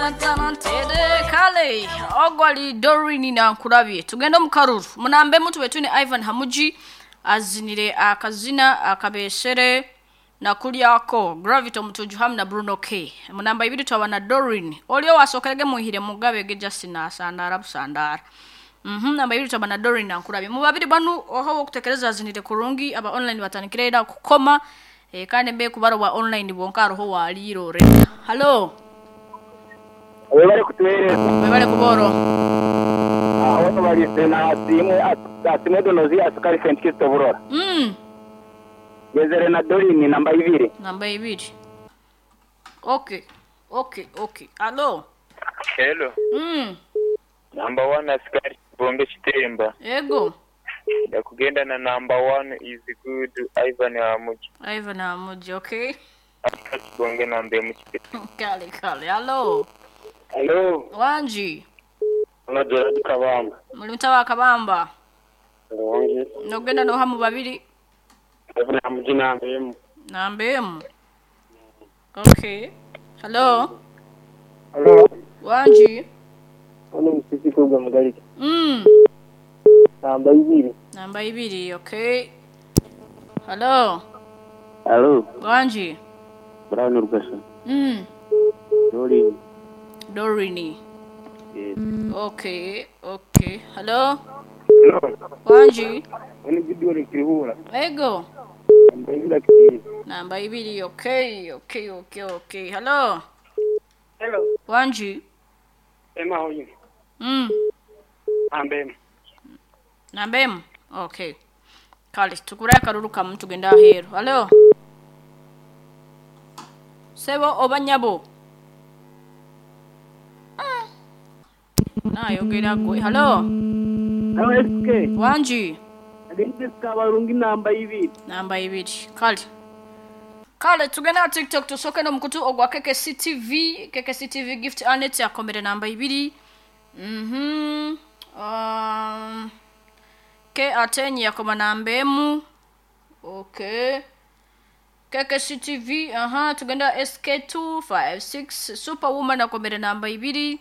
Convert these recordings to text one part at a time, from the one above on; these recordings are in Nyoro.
Tantantantere kale ogwali Dorini nankurabye. Tugende mu karuru munambe mutube tune Ivan Hamuji azinire akazina akabesere nakulyako Gravity Omutuju hamu na Bruno K. Munamba ibiri twaba na Dorin olio wasokerege muhire mugabe ge Justin asandara busandara. Namba ibiri twaba na Dorin nankurabye. Mu babiri banu oho okutekereza azinire kurungi aba online batandikire era kukoma, kandi mbe kubaro wa online bonka aroho walirore. Hello. Webale kutuweereza. Webale kuboro. Aho balise na asimwe asimwe donozi asikari St. Kristo Burora. Gezere na Dorini namba ibiri. Namba ibiri. Okay. Okay, okay. Hello. Hello. Number 1 asikari Bombe Chitemba. Ego. Ndakugenda na number 1 is good Ivan Hamuji. Ivan Hamuji, okay. Bonge nambe muchitemba. Kale kale. Hello. Hello. Wanji. Ono Gerard Kabamba. Muli mutawa Kabamba. Wanji. Nogenda no hamu babiri. Ivan Hamuji namba emu. Namba emu. Okay. Hello. Hello. Wanji. Ono msisi kuga mgaliki. Namba ibiri. Namba ibiri, okay. Hello. Hello. Wanji. Brown Rugasa. Dorini. Dorini. Yes. Okay, okay. Hello. Hello. Wanji. Ono Gideon Kirihura. Ego. Namba ibiri akiri. Namba ibiri, okay, okay, okay, okay. Hello. Hello. Wanji. Ema hoyi. Namba emu. Namba emu. Okay. Kale tukura akaruru kamu tugenda ahero. Hello. Sebo obanyabo. Nayogera gwe. Hello. Hello SK. Wanji. Agende kabarungi namba ibiri. Namba ibiri. Kale. Kale tugenda TikTok tusoke no mukutu ogwa KKC TV, KKC TV gift anet yakomere namba ibiri. Ke atenyi yakoma namba emu. Okay. KKC TV, aha, tugenda SK256 Superwoman akomere namba ibiri.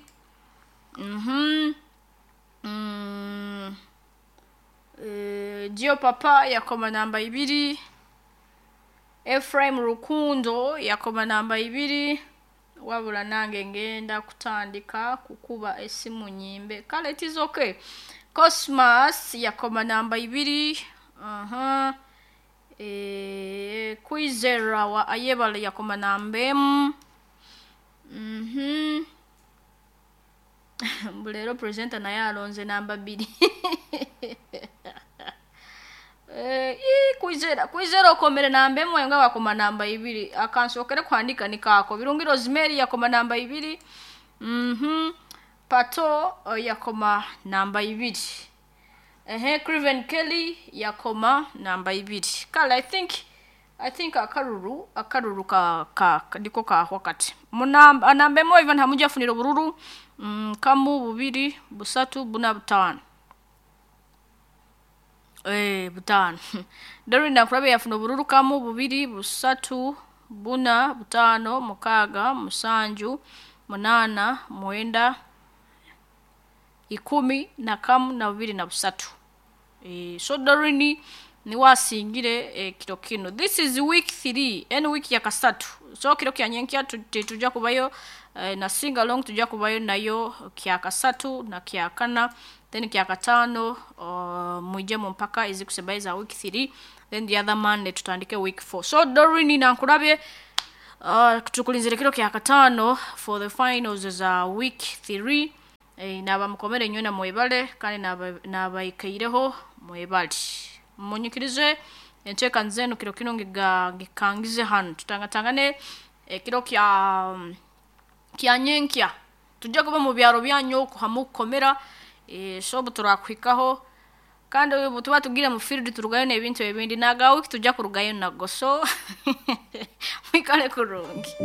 Gio Papa yakoma namba ibiri. Ephraim Rukundo yakoma namba ibiri. Wabula nange ngenda kutandika kukuba esimu nyimbe. Kale it is okay. Cosmas yakoma namba ibiri. Aha. Kwizera wa Ayebale yakoma namba emu. Mbulero presenter naye alonze namba bbiri. Kwizera kwizera okomere namba emu nga wakoma namba ibiri. Akansokere kuhandika nikako. Birungi Rosemary yakoma namba ibiri. Pato yakoma namba ibiri. Craven Kelly yakoma namba ibiri. Kale I think akaruru ka ndiko ka wakati. Munamba namba emu Ivan Hamuja afunira bururu. Kamu bubiri busatu buna butano. Butano. Dorin nakurabe yafuna bururu kamu bubiri busatu buna butano mukaga musanju munana mwenda ikumi na kamu na bubiri na busatu. So Dorini ni wasingire kiro kino. This is week 3 en week ya kasatu. So kiro kya nyenkia tuja kubayo na sing along tuja kubayo nayo kya kasatu na kya kana then kya katano muje mpaka izi kusebaiza week 3 then the other Monday tutandike week 4. So Dorini nankurabye tukulinzire kiro kya katano for the finals za week 3. Naba mukomere nywe na mwebale kandi nabaikaireho mwebale. Munyikirize enteeka nzenu kiro kino ngikangize hano tutangatangane kiro kya nyenkya tujja kuba mu byaro byanyu hamukomera so turakwikaho kandi ubu tuba tugira mu field turugayo n'ebintu ebindi nagawe tujja kurugayo nago so mwikale kurungi.